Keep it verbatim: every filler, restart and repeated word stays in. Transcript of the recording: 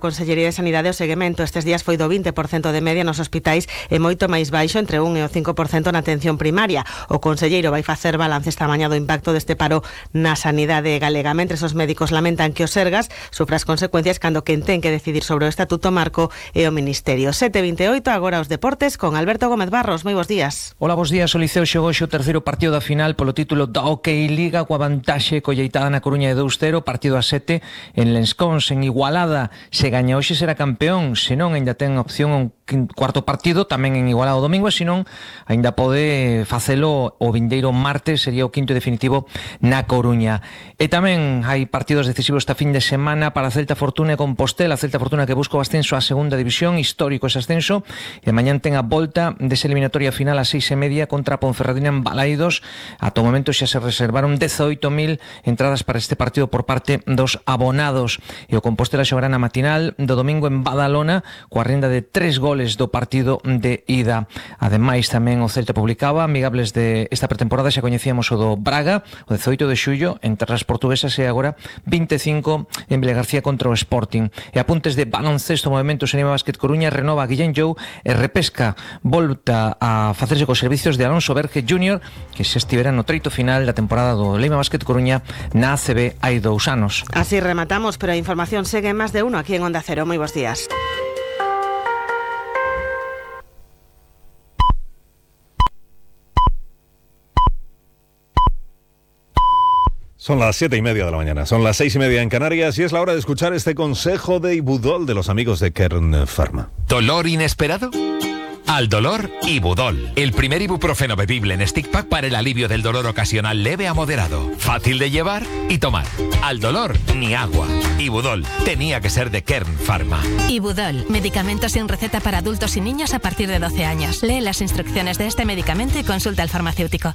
Consellería de Sanidade o seguimento estes días foi do vinte por cento de media nos hospitais e moito máis baixo entre un e o cinco por cento na atención primaria. O conselleiro vai facer balance esta mañá do impacto deste paro na sanidade galega. Mentres os médicos lamentan que o Sergas sufra as consecuencias cando quen ten que decidir sobre o Estatuto Marco e o Ministerio. sete e vinte e oito, agora os deportes con Alberto Gómez Barros. Moi bons días. Hola, bons días. O Liceo xogou o terceiro partido da final polo título da Hockey Liga coa vantaxe colleitada na Coruña de dous cero, partido a sete en Lenscons, en Igualada. Se gaña hoxe será campeón, senón ainda ten opción un cuarto partido tamén en Igualada o domingo, e senón ainda pode facelo o vindeiro martes, sería o quinto definitivo na Coruña. E tamén hai partidos decisivos esta fin de semana para Celta Fortuna e Compostela. Celta Fortuna que busca o ascenso á segunda división, histórico ese ascenso, e mañán ten a volta desa eliminatoria final a seis e media contra a Ponferradina en Balaidos. Ata o momento xa se reservaron dezoito mil entradas para este partido por parte dos abonados, e o Compostela xogará na matinal do domingo en Badalona coa renda de tres goles do partido de ida. Ademais, tamén o Celta publicaba amigables de esta pretemporada, xa coñecíamos o do Braga, o dezoito de xullo en terras portuguesas, e agora vinte e cinco en Vilagarcía contra o Sporting. E apuntes de baloncesto, movimento Senima Básquet Coruña renova a Guillén Jou e repesca volta a facerse cos servicios de Alonso Verge júnior, que se estivera no treito final da temporada do Leima Básquet Coruña na A C B hai dous anos. Así rematamos, pero a información segue máis de uno aquí en Onda Cero. Moi bons días. Son las siete y media de la mañana, son las seis y media en Canarias, y es la hora de escuchar este consejo de Ibudol de los amigos de Kern Pharma. ¿Dolor inesperado? Al dolor, Ibudol, el primer ibuprofeno bebible en stick pack para el alivio del dolor ocasional leve a moderado, fácil de llevar y tomar. Al dolor, ni agua. Ibudol, tenía que ser de Kern Pharma. Ibudol, medicamento sin receta para adultos y niños a partir de doce años. Lee las instrucciones de este medicamento y consulta al farmacéutico.